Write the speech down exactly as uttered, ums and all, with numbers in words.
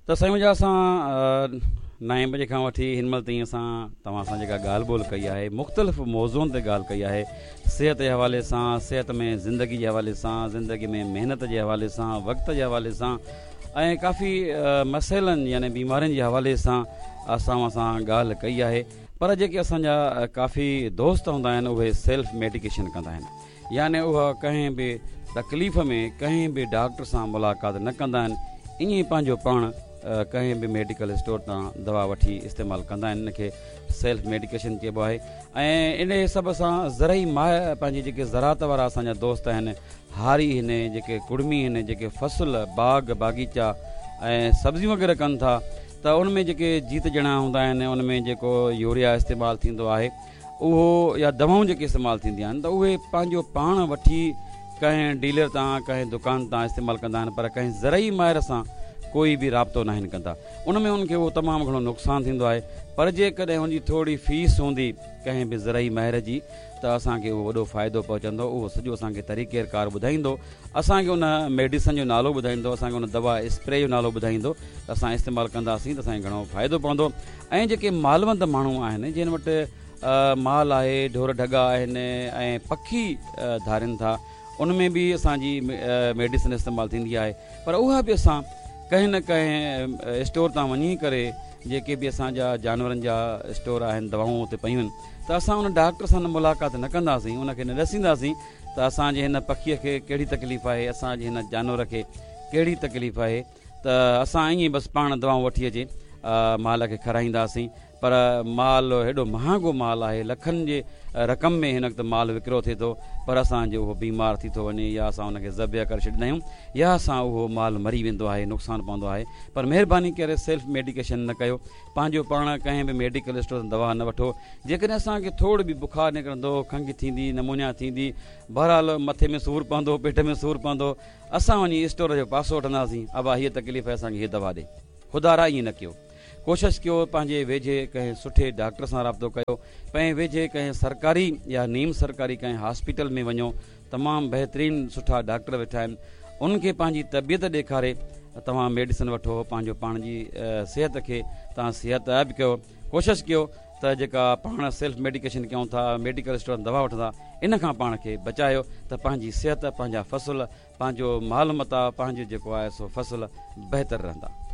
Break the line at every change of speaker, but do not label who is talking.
ته سائين منهنجا اسان نائين بجي کان وٺي هن مهل تائين اسان توهان سان جيڪا ڳالهه ٻولهه ڪئي آهي، مختلف موضوعن تي ڳالهه ڪئي آهي، صحت جي حوالي سان، صحت ۾ زندگي جي حوالي سان، زندگي ۾ محنت جي حوالي سان، وقت جي حوالي سان ۽ ڪافي مسئلن يعني بيمارين جي حوالي سان اسان اوهان سان ڳالهه ڪئي آهي. پر جيڪي اسان جا ڪافي دوست هوندا آهن اهي سيلف ميڊيڪيشن ڪندا آهن، يعني اها ڪنهن به تڪليف ۾ ڪنهن به ڊاڪٽر سان ملاقات نه ڪندا آهن، ائين ئي پنهنجو پاڻ ڪنهن به ميڊيڪل اسٽور تان دوا وٺي استعمال ڪندا آهن. ان کي سيلف ميڊيڪيشن چئبو آهي. ۽ ان حساب سان زرعي ماهر پنهنجي جيڪي زراعت وارا اسان جا دوست آهن، هاري آهن، جيڪي ڪڙمي آهن، جيڪي فصل باغ باغيچا ۽ سبزيون وغيره ڪن ٿا ته ان ۾ جيڪي جيت جڻا هوندا آهن ان ۾ جيڪو يوريا استعمال ٿيندو آهي اهو يا دوائون جيڪي استعمال ٿينديون آهن ته اهي پنهنجو پاڻ وٺي ڪنهن ڊيلر تان ڪنهن دڪان تان استعمال ڪندا آهن، پر ڪنهن زرعي ماهر سان ڪوئي به رابطو ناهن ڪندا. ان ۾ انهن کي اهو تمام گهڻو نقصان ٿيندو آهي. پر جيڪڏهن ان جي ٿوري فيس هوندي ڪنهن به زرعي ماهر جي ته اسان کي اهو وڏو فائدو پهچندو. اهو سڄو اسان کي طريقي ڪار ٻڌائيندو، اسان کي ان ميڊيسن جو نالو ٻڌائيندو، اسان کي ان دوا اسپري جو نالو ٻڌائيندو ته اسان استعمال ڪنداسين ته اسان کي گهڻو فائدو پوندو. ۽ جيڪي مالوند ماڻهو آهن، جن وٽ مال آهي، ڍور ڍڳا آهن ۽ پکي ڌارين ٿا، ان ۾ به اسان جي ميڊيسن استعمال ٿيندي آهي. پر اها به اسان ڪنهن نه ڪنهن اسٽور تان وڃي ڪري، جيڪي به اسان جا جانورن جا اسٽور آهن، دوائون اتي پيون آهن، ته اسان ان ڊاڪٽر سان ملاقات نه ڪنداسين، ان کي نه ڏسينداسين ته اسان جي هن پکيء کي ڪهڙي تڪليف آهي، اسان جي هن جانور کي ڪهڙي تڪليف آهي، ته اسان ائين ئي بس پاڻ دوائون وٺي اچي مال کي کارائينداسين. پر مال هيڏو مهانگو مال آهي، لکن جي رقم ۾ هن وقت مال وڪرو ٿئي ٿو، پر اسان جو اهو بيمار ٿي ٿو وڃي يا اسان ان کي ذبح ڪري ڇڏيندا آهيون يا اسان اهو مال مري ويندو آهي، نقصان پوندو آهي. پر مهرباني ڪري سيلف ميڊيڪيشن نه ڪيو، پنهنجو پاڻ ڪنهن به ميڊيڪل اسٽور تان دوا نه وٺو. جيڪڏهن اسان کي ٿورو به بخار نڪرندو، کنگهه ٿيندي، نمونيا ٿيندي، بهرحال مٿي ۾ سور پوندو، پيٽ ۾ سور پوندو، اسان وڃي اسٽور جو پاسو وٺنداسين، ابا هيء تڪليف آهي اسان کي هيء دوا ڏي. خدارا ائين نه ڪيو. ڪوشش ڪيو پنهنجي ويجهي ڪنهن سٺي ڊاڪٽر سان رابطو ڪيو، پنهنجي ويجهي ڪنهن سرڪاري يا نيم سرڪاري ڪنهن هاسپيٽل ۾ وڃو، تمام بهترين سٺا ڊاڪٽر ويٺا آهن، انهن کي پنهنجي طبيعت ڏيکاري توهان ميڊيسن وٺو، پنهنجو پاڻ جي صحت کي توهان صحتياب ڪيو. ڪوشش ڪيو ته جيڪا پاڻ سيلف ميڊيڪيشن ڪيون ٿا، ميڊيڪل اسٽور تان دوا وٺون ٿا، ان کان پاڻ کي بچايو ته پنهنجي صحت، پنهنجا فصل، پنهنجو مال متاع، پنهنجو جيڪو آهي سو فصل بهتر رهندا.